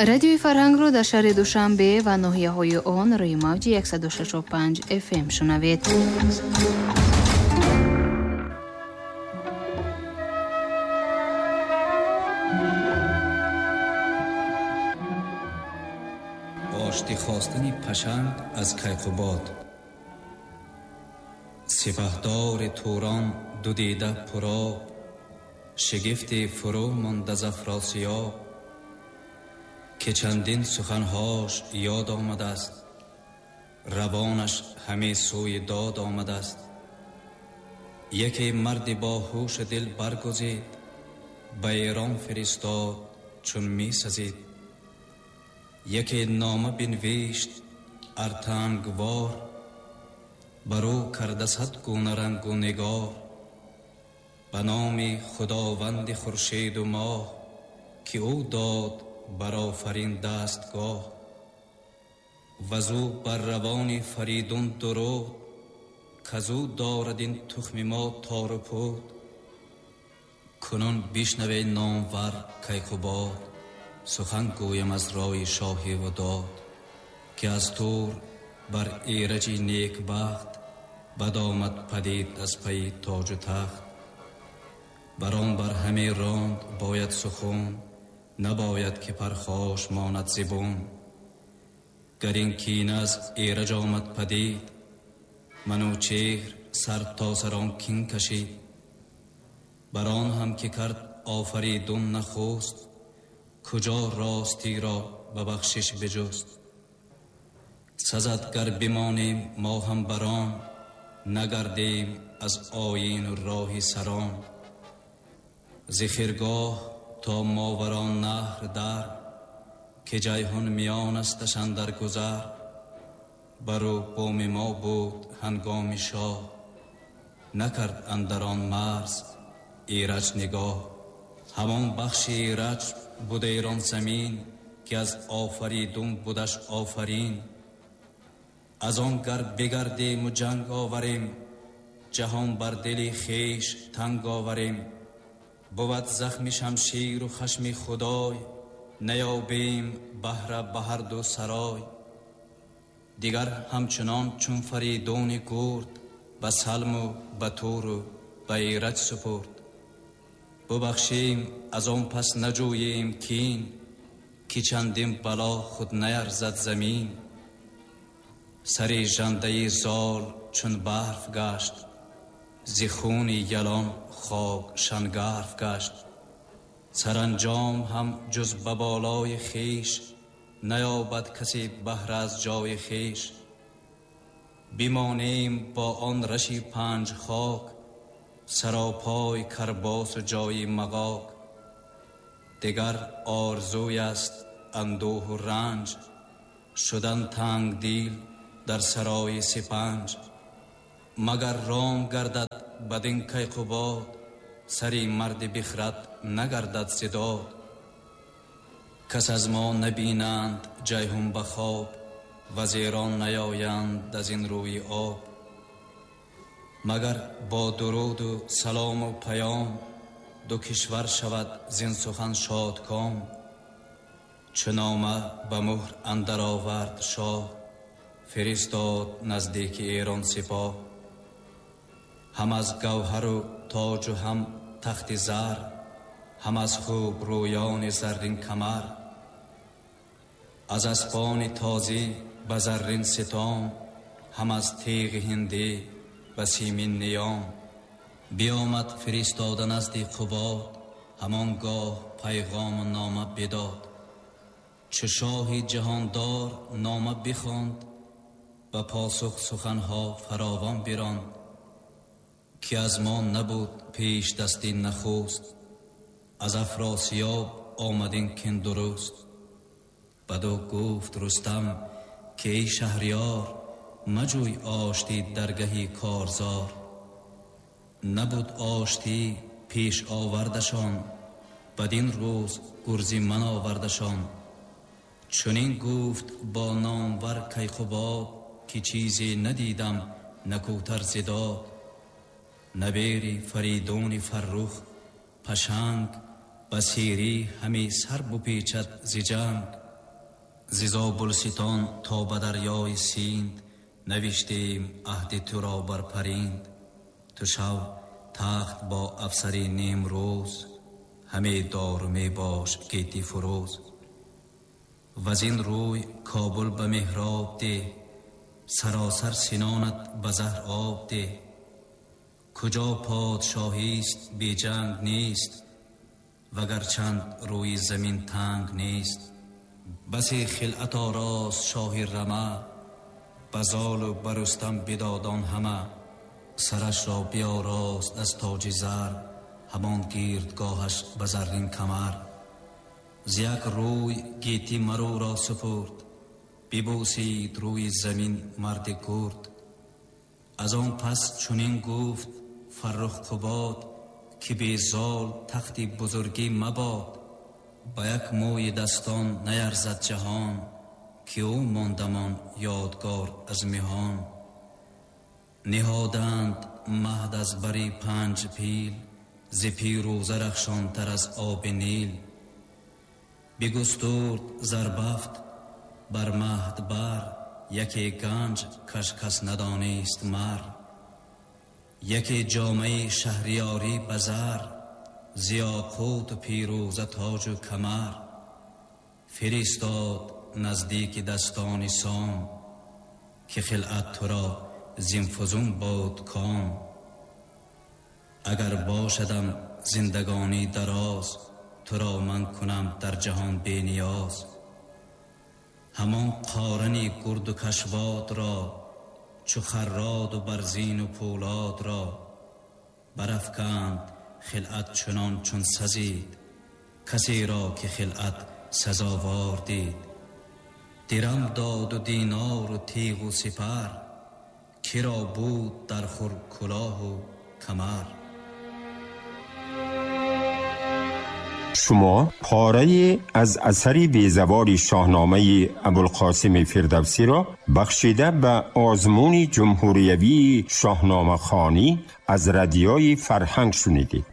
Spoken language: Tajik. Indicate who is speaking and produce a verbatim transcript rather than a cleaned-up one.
Speaker 1: Радиои Фарҳангро дар шаҳри Душанбе ва ноҳияҳои он рӯи мавҷи яксаду шашу панҷ эф эм шунавед.
Speaker 2: Оштӣ хостани Пашанг аз Кайқубод. Сипаҳдори Турон ду дида пуроб, шигифти фурӯ монда з Афросиёб, ки чандин суханҳош ёд омадааст, равонаш ҳаме сӯи дод омадааст. Яке марди бо ҳушу дил баргузид, ба Эрон фиристод чун мисазид. Яке нома бинвишт артангвор, бар ӯ карда сад гуна рангу нигор. Ба номи Худованди хуршеду моҳ, ки ӯ дод бар офарин дастгоҳ. Вазу бар равони Фаридун дуруд, казу дорад ин тухми мо тору пуд. Кунун бишнаве номвар Кайқубод, сухан гӯям аз рои шоҳи ва дод, ки аз тур бар Эраҷи некбахт бад омад падид аз пайи тоҷу тахт. Бар он бар ҳаме ронд бояд сухун, набояд ки пархош монад зибун. Гар ин кина аз Эраҷ омад падид, Манучеҳр сар то сар он кин кашид. Бар он ҳам ки кард Офаридун нахуст, куҷо ростиро ба бахшиш биҷуст. Сазад гар бимонем мо ҳам бар он, нагардем аз оину роҳи сарон. Зи хиргоҳ то моварон наҳр дар, ки ҷайҳун миён асташ андар гузар. Бару буми мо буд ҳангоми шоҳ, накард андар он марз Эраҷ нигоҳ. Ҳамон бахши Эраҷ буд Эрон замин, ки аз Офаридун будаш офарин. Аз он гар бигардем у ҷанг оварем, ҷаҳон бар дили хеш танг оварем. Бувад захми шамширу хашми Худой, наёбем баҳра ба ҳар ду сарой. Дигар ҳамчунон чун Фаридуни гурд, ба Салму ба Туру ба Эраҷ супурд. Бубахшем аз он пас наҷӯем кин, ки чандин бало худ наярзад замин. Сари жандаи зол чун барф гашт, зи хуни ялон хок шангарф гашт. Саранҷом ҳам ҷуз ба болои хеш, наёбад касе баҳра аз ҷои хеш. Бимонем бо он раши панҷ хок, саропой карбосу ҷои мағок. Дигар орзуй аст андӯҳу ранҷ, шудан тангдил дар сарои сипанҷ. Магар ром гардад бадин Кайқубод, сари марди бихрад нагардад зидод. Кас аз мо набинанд ҷайҳун ба хоб, вазирон наёянд аз ин рӯи об. Магар бо дуруду салому паём, ду кишвар шавад зин сухан шодком. Чу нома ба муҳр андар овард шоҳ, фиристод наздики Эрон сипоҳ. Ҳам аз гавҳару тоҷу ҳам тахти зар, ҳам аз хубрӯёни заррин камар. Аз аспони тозӣ ба заррин ситом, ҳам аз теғи ҳиндӣ ба симин ниём. Биомад фиристода назди Қубод, ҳамон гоҳ пайғому нома бидод. Чу шоҳи ҷаҳондор нома бихонд, ба посух суханҳо фаровон биронд. Ки аз мо набуд пеш дасти нахуст, аз Афросиёб омадин кин дуруст. Баду гуфт Рустам ки эй шаҳриёр, маҷӯй оштӣ даргаҳи корзор. Набуд оштӣ пеш овардашон, бадин рӯз гурзи ман овардашон. Чунин гуфт бо номвар Кайқубод, ки чизе надидам накӯтар зидод. Набери Фаридуни Фаррух Пашанг, ба сирӣ ҳаме сар бупечад зи ҷанг. Зи Зобулстон то ба дарёи Синд навиштем аҳди туро бар паринд. Ту шав тахт бо афсари нимрӯз, ҳаме дор мебош гети фурӯз. Вазин рӯй Кобул ба меҳроб деҳ, саросар синонат ба заҳр об деҳ. Куҷо подшоҳист беҷанг нест, вагарчанд рӯи замин танг нест. Басе хилъат орост шоҳи рама, ба золу ба Рустам бидодон ҳама. Сарашро биёрост аз тоҷи зар, ҳамон гирдгоҳаш ба заррин камар. Зи як рӯй гетӣ маруро супурд, бибӯсид рӯи замин марди гурд. Аз он пас чунин гуфт Фаррух Қубод, ки безол тахти бузургӣ мабод. Ба як мӯи дастон наярзад ҷаҳон, ки ӯ мондамон ёдгор аз меҳон. Ниҳоданд маҳд аз бари панҷ пил, зи пирӯза рахшонтар аз оби Нил. Бигустурд зарбафт бар маҳд бар, яке ганҷ каш кас надонист мар. Яке ҷомаи шаҳриёрӣ ба зар, зи ёқуту пирӯза тоҷу камар. Фиристод наздики дастони Сом, ки хилъат туро зин фузун буд ком. Агар бошадам зиндагонӣ дароз, туро ман кунам дар ҷаҳон бениёз. Ҳамон қорани гурду кашвод ро, чу харроду барзину пӯлод ро. Барафканд хилъат чунон чун сазид, касеро ки хилъат сазовор дид. Дирам доду динору тиғу сипар, киро буд дар хур кулоҳу камар.
Speaker 3: Шумо порае аз асари безавори шоҳномаи Абулқосими Фирдавсиро бахшида ба озмуни ҷумҳуриявии шоҳномахонӣ аз радиои Фарҳанг шунидед.